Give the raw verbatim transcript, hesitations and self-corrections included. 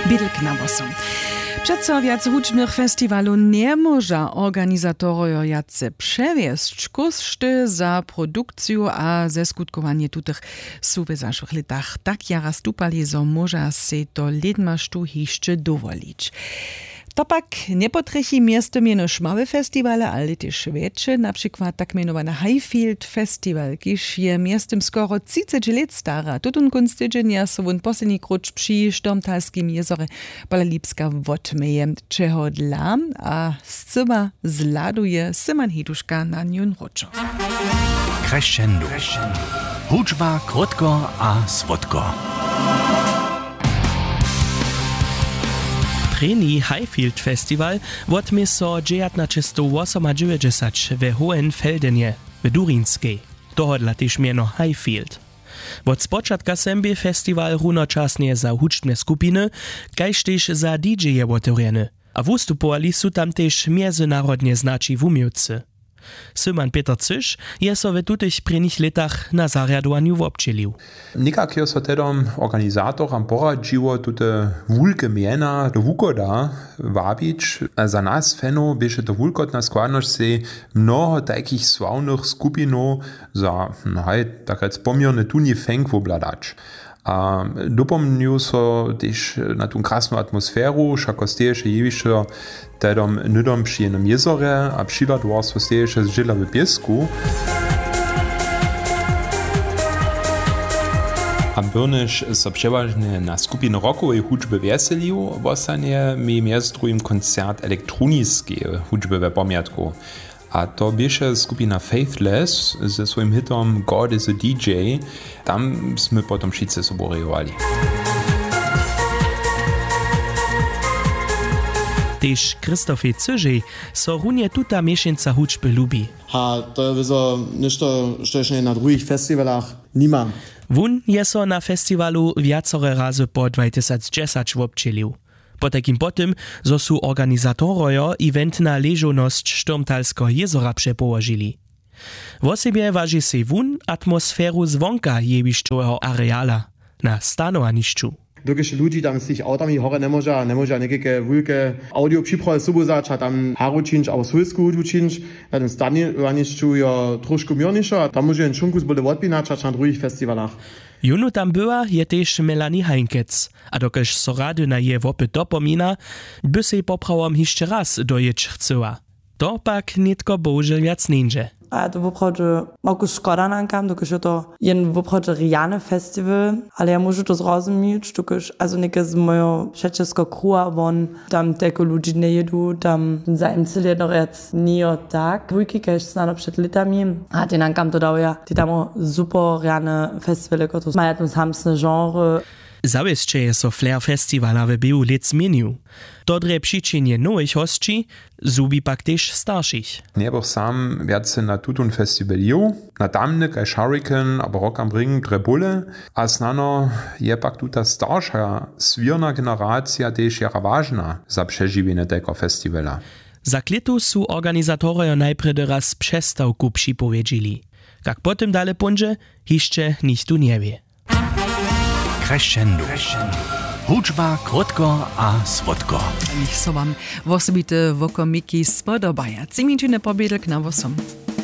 Bědlk na włosom. Přeco wjac hudźbnych festiwalow njemóža organizatorojo wjace přewjesć, kóšty za produkciju a zeskutkowanje tutych su w zašłych lětach tak jara stupali, zo móža sej to lědmaštu hišće dowolić. To pak njepotrjechi mjeztym jenož małe festiwale, ale tež wjetše, na přikład tak mjenowane Highfield Festival, kiž je mjeztym skoro třiceć lět stary. Tutón kónc tydźenja so wón posledni króć při Stormtalskim jězorje pola Lipska wotměje. Čehodla a scyła zhladuje Syman Hiduška na njón wróćo. Crescendo. Hudźba krótko a słodko. Prěni Highfield Festival wotmě so dźewjatnaćestowwosomadźewjećdźesać we Hohenfeldenje w Durinskej. Tohodla tež mjeno Highfield. Wot spočatka sem bě festiwal runočasnje za hudźbne skupiny, kaž tež za D J-je wotewrjeny. A wustupowali su tam tež mjezynarodnje znaći wuměłcy. Syman Pětr Cyš je so w tutych prěnich lětach na zarjadowanju wobdźělił. Někak jo so tehdom organizatoram poradźiło, tute wulke mjena do wuchoda wabić. Za nas fanow běše to wulkotna składnosć, sej mnoho tajkich sławnych skupinow za, no haj, tak rjec poměrnje tuni fenk wobhladać. A dopomnju so tež na tu krasnu atmosferu, wšako steješe jewišćo tehdom hnydom při jenym jězorje a přihladowar so steješe zdźěla w pěsku. A byrnyž so přewažnje na skupiny rockowej hudźby wjeselił, wostanje mi mjez druhim koncert elektroniskeje hudźby we pomjatku. A to běše skupina Faithless ze swojim hitom God is a D J. Tam smy potom wšitcy sobu rejowali. Tež Christofej Cyžej so runje tuta měšeńca hudźby lubi. A to je wězo něšto, što ješće na druhich festiwalach nimam. Wón je so na festiwalu wjacore razy po dwatysacdźesać wobdźělił. Potajkim po tym, zo su organizatorojo eventna ležownosć Stormtalskeho jězora přepołožili. Wosebje waži sej wón atmosferu zwonka jewišćoweho areala na stanowanišću. Dokelž ludźi tam z tych awtami hore njemóža, njemóža někajke wulke audio připrawy sobu wzać a tam haru čińć abo swójsku hudźbu čińć, na tym stanowanišću jo trošku měrnišo a tam móže jen šunku z bóle wotpinać hač na druhich festiwalach. Jónu tam była je tež Melanie Heinkec. A dokelž so rady na jeje wopyt dopomina, by sej poprawom hišće raz dojěć chcyła. To pak nětko bohužel wjac njeńdźe. A ja to woprawdźe, moku škoda nankam, dokelž je to jen woprawdźe rjany festiwal, ale ja móžu to zrozumić, dokelž, also něke z mojeho přećelskego kruha won tam telko ludźi njejědu, tam zajim cyle jedno rjac njejo tak wulki kaž snano před lětami. A tej nankam to dał ja, tej tam super rjane festiwale, kotrež maja tam samsne genre. Zawěsće je so flair festiwala w běhu lět změnił. To drje přićenje nowych hosći, zhubi pak tež staršich. Njebych sam wjace na tutón festiwal jěł, na tamny kaž Hurricane abo Rock am Ring drje bóle. A snano je pak tuta starša swěrna generacija tež jara wažna za přežiwjenje tajkeho festiwala. Za klětu su organizatorojo najprjedy raz přestawku připowědźili. Kak po tym dale póńdźe, hišće nichtó njewě. Crescendo. Hudźba krótko a słodko. Nich so wam wosebite wokomiki spodobaja. Tři minutiny po bědlk na wosom.